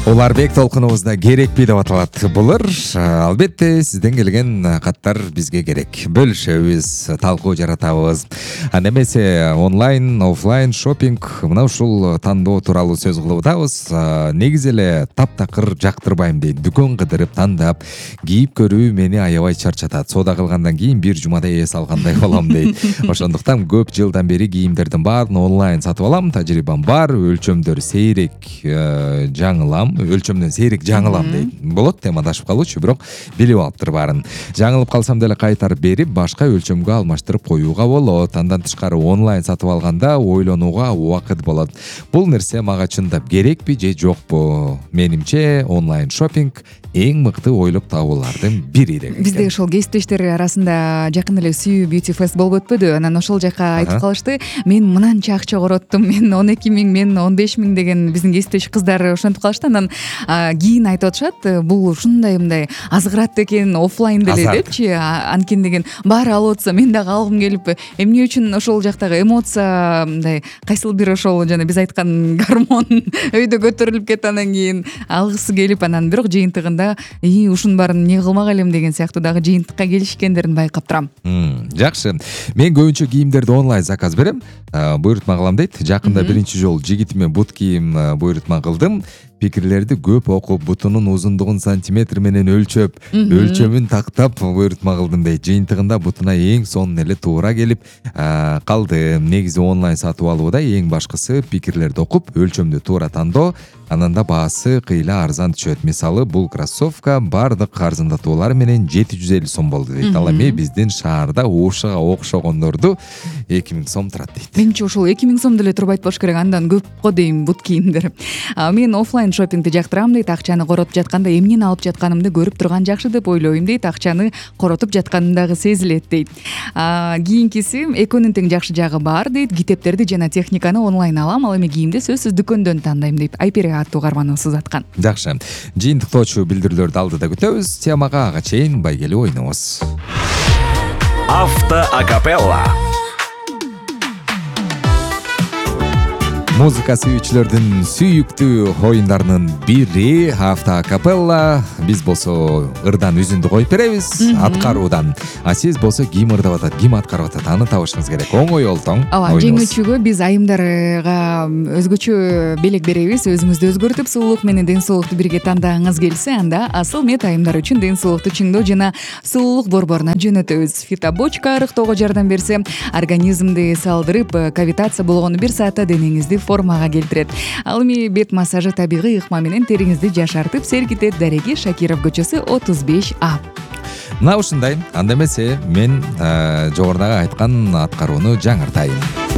Уларбек толкунубузда керекпи деп аталат булар. Албетте сизден келген каттар бизге керек. Бөлүшөбүз, талкуу жаратабыз. Анда эмесе онлайн, офлайн шопинг мына ушул тандоо тууралуу сөз кылып атабыз. Негизи эле таптакыр жактырбайм дейт. Дүкөн кыдырып тандап, кийип көрүү мени аябай чарчатат. Соода кылгандан кийин бир жумада эс алгандай болом дейт. Ошондуктан көп жылдан бери кийимдердин баарын онлайн сатып алам. Тажрыйбам бар, өлчөмдөр сейрек өлчөмдөн сейрек жаңылам дейт. Болот, темадашып калуучу, бирок билип алыптыр баарын. Жаңылып калсам деле кайтарып берип, башка өлчөмгө алмаштырып коюуга болот. Андан тышкары онлайн сатып алганда ойлонууга убакыт болот. Бул нерсе мага чындап керекпи же жокпу? Менимче онлайн шопинг эң мыкты ойлоп табуулардын бири деген. Бизде ошол кесиптештер арасында жакын эле сүйүү бьюти фест болуп өтпөдү? Анан ошол жака айтып калышты. Мен мынанча акча короттум, мен 12 000, мен 15 000 деген биздин кесиптеш кыздар ошентип калышты. Анан кийин айтып атышат, бул ушундай мындай азгырат экен офлайн деле депчи. Анткени деген баары алып атса мен дагы алгым келип, эмне үчүн ошол жактагы эмоция мындай кайсыл бир ошол жана биз айткан гормон өйдө көтөрүлүп кетип анан кийин алгысы келип, анан бирок жыйынтыгында ушунун баарын эмне кылмак элем деген сыяктуу дагы жыйынтыкка келишкендерин байкап турам. Жакшы. Мен көбүнчө кийимдерди онлайн заказ берем. Буйрутма кылам дейт. Жакында биринчи жолу жигитиме бут кийим буйрутма кылдым. Пикирлерди көп окуп, бутунун узундугун сантиметр менен өлчөп, өлчөмүн тактап буйрутма кылдым дейт. Жыйынтыгында бутуна эң сонун эле туура келип калды. Негизи онлайн сатып алууда эң башкысы пикирлерди окуп, өлчөмдү туура тандоо, анан да баасы кыйла арзан түшөт. Мисалы, бул кроссовка бардык арзандатуулар менен 750 сом болду дейт. Ал эми биздин шаарда ушуга окшогондорду 2000 сом турат дейт. Менимче ошол 2000 сом деле туруп айтпаш керек, андан көп го дейм бут кийимдер. Мен офлайн шопингди жактырам дейт. Акчаны коротуп жатканда эмнени алып жатканымды көрүп турган жакшы деп ойлойм дейт. Акчаны коротуп жатканым дагы сезилет дейт. Кийинкиси экөөнүн тең жакшы жагы бар дейт. Китептерди жана техниканы онлайн алам, ал эми кийимди сөзсүз дүкөндөн тандайм дейт. Айпери аттуу карманыбыз аткан. Жакшы. Жыйынтыктоочу билдирүүлөрдү алдыда күтөбүз. Темага ага чейин байгелүү ойнобуз. Авто акапелла. Музыка сүйүүчүлөрдүн сүйүктүү оюндарынын бири авто акапелла. Биз болсо ырдан үзүндү коюп беребиз аткаруудан. А сиз болсо ким ырдап атат, ким аткарып атат, аны табышыңыз керек. Оңой олтоң. Ооба, жеңүүчүгө биз айымдарга өзгөчө белек беребиз. Өзүңүздү өзгөртүп, сулуулук менен ден соолукту бирге тандагыңыз келсе, анда асыл мет айымдар үчүн ден соолукту чыңдоо жана сулуулук борборуна жөнөтөбүз. Фитобочка арыктоого жардам берсе, организмди салдырып, кавитация болгону 1 саатта денеңизди формага келтирет. Ал эми бет массажы табигый ыкма менен териңизди жашартып серкитет. Дареги Шакиров көчөсү 35А. Мына ушундай. Анда эмесе мен жогорудагы айткан аткарууну жаңыртайын.